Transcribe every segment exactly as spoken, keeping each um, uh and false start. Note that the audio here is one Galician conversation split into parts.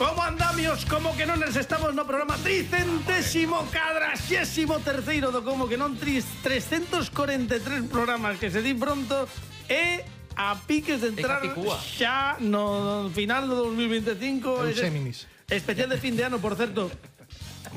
Como andamios, como que non nos estamos no programa tricentésimo cadraxésimo terceiro do Como que non trescentos corenta e tres programas que se di pronto e a piques de entrar xa no final do dos mil veinticinco. Euseminis. Especial de fin de ano, por certo.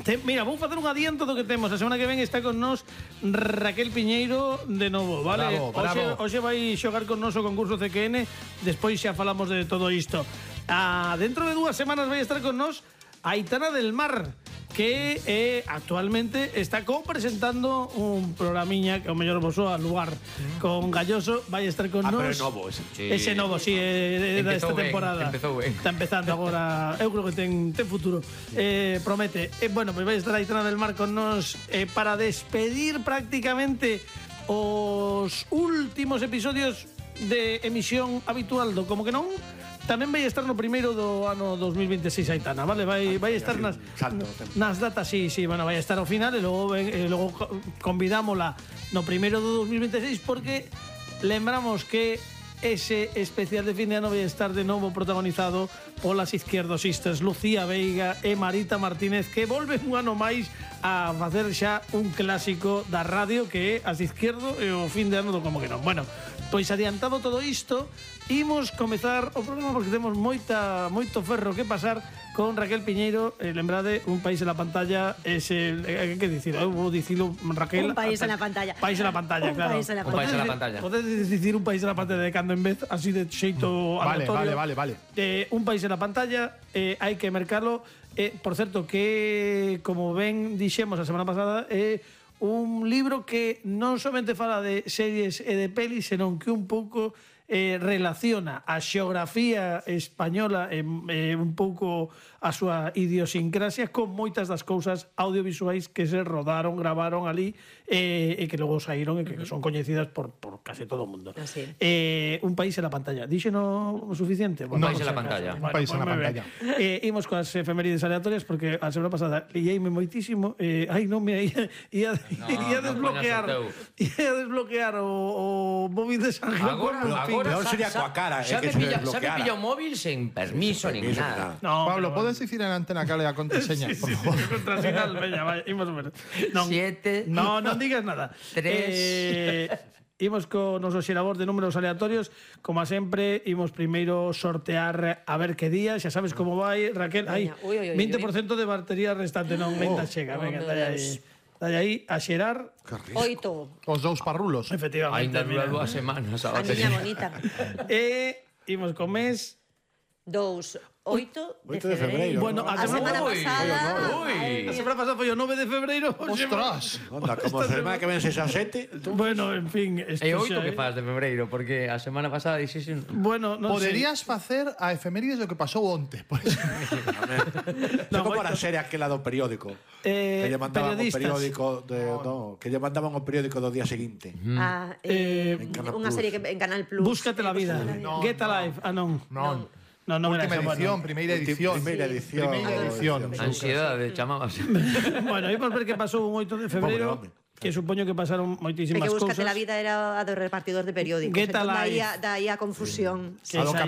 Te, mira, vamos facer un adiento do que temos. A semana que ven está con nós Raquel Piñeiro de novo, vale? Bravo, bravo. Hoxe, hoxe vai xogar con noso concurso C Q N. Despois xa falamos de todo isto. Ah, dentro de dúas semanas vai estar con nós Aitana del Mar, que eh, actualmente está co-presentando un programiña que o mellor vos soa lugar mm. con Galloso. Vai estar con ah, nós. Ah, pero é novo ese. Sí. Ese novo, si, sí, é da esta ben, temporada. Empezou ben. Está empezando agora. Eu creo que ten, ten futuro. Eh, promete. Eh, bueno, pois vai estar Aitana del Mar con nós eh, para despedir prácticamente os últimos episodios de emisión habitual do Como que non. Tamén vai estar no primeiro do ano dos mil veintiséis Aitana, vale? Vai, vai estar nas, nas datas, sí, sí, bueno, vai estar ao final e logo, e logo convidámola no primeiro do dos mil veintiséis porque lembramos que ese especial de fin de ano vai estar de novo protagonizado polas izquierdosistas Lucía Veiga e Marita Martínez, que volven un ano máis a facer xa un clásico da radio que é as izquierdo e o fin de ano do Como que non. Bueno, pois adiantado todo isto, imos comezar o programa porque temos moita moito ferro que pasar con Raquel Piñeiro. Eh, lembrade, un país en la pantalla es el... Eh, que dicir? Eu vou dicilo, Raquel. Un país en la pantalla. País en la pantalla, un claro. País en la un país en la pantalla. Podedes dicir un país en la pantalla de cando en vez, así de xeito vale, aleatorio. Vale, vale, vale. Eh, un país en la pantalla, eh, hai que mercalo. Eh, por certo, que, como ben dixemos a semana pasada, é eh, un libro que non somente fala de series e de pelis, senón que un pouco eh, relaciona a xeografía española e eh, un pouco a súa idiosincrasia con moitas das cousas audiovisuais que se rodaron, gravaron ali eh, e que logo saíron e que uh-huh. son coñecidas por, por case todo o mundo. Así. Eh, un país en la pantalla. Díxeno o suficiente? Un bueno, país en la pantalla. Un país en la pantalla. Eh, imos coas efemérides aleatorias porque a semana pasada liéime moitísimo. Eh, ai, non me ia, ia, no, ia desbloquear no ia desbloquear o, o móvil de San Gil. Agora, agora non sería coa cara, xa é que me se pilla, xa me desbloqueara. pilla o móvil sen permiso nin nada. No, Pablo, pero, podes dicir en a antena cal é a contraseña, sí, por sí, favor? sí, contrasinal, veña, vai, imos ver. Non, Siete. No, non digas nada. Tres. Eh, imos co noso xerador de números aleatorios. Como a sempre, imos primeiro sortear a ver que día. Xa sabes como vai, Raquel. Ai, Ui, ui, ui, vinte por cento de batería restante, non, venta chega. Venga, oh, dalle aí. Dalle aí a xerar. Oito. Os dous parrulos. Efectivamente. Ainda dura mira. dúas semanas a A niña batería. bonita. E imos co mes. Dous. Oito de Oito de febreiro. febreiro. Bueno, A a semana Ui, pasada. ui. Ai, A semana pasada foi o nove de febreiro. Ostras. Onda, como a semana que ven seis a sete. Bueno, en fin. E oito xa, que eh. faz de febreiro, porque a semana pasada dixese Bueno, non Poderías facer a efemérides do que pasou onte, por exemplo. Non, como moito. a serie aquela do periódico. Eh, que lle mandaban o periodistas. periódico de, no, que lle mandaban o periódico do día seguinte. Ah, eh, Eh, en Canal unha Plus. serie que en Canal Plus. Búscate la vida. No, Get no. Alive. Ah, non. Non. No, no, Última era edición, bueno. primeira Ulti- edición. Primeira edición. Primeira edición. ansiedade, chamábase. Bueno, imos ver que pasou un oito de febreiro, Pobre home. que supoño que pasaron É moitísimas que Búscate cousas. la vida era a do repartidor de periódicos. Get Entón, Alive. daí a, daí a confusión. Que A do saía-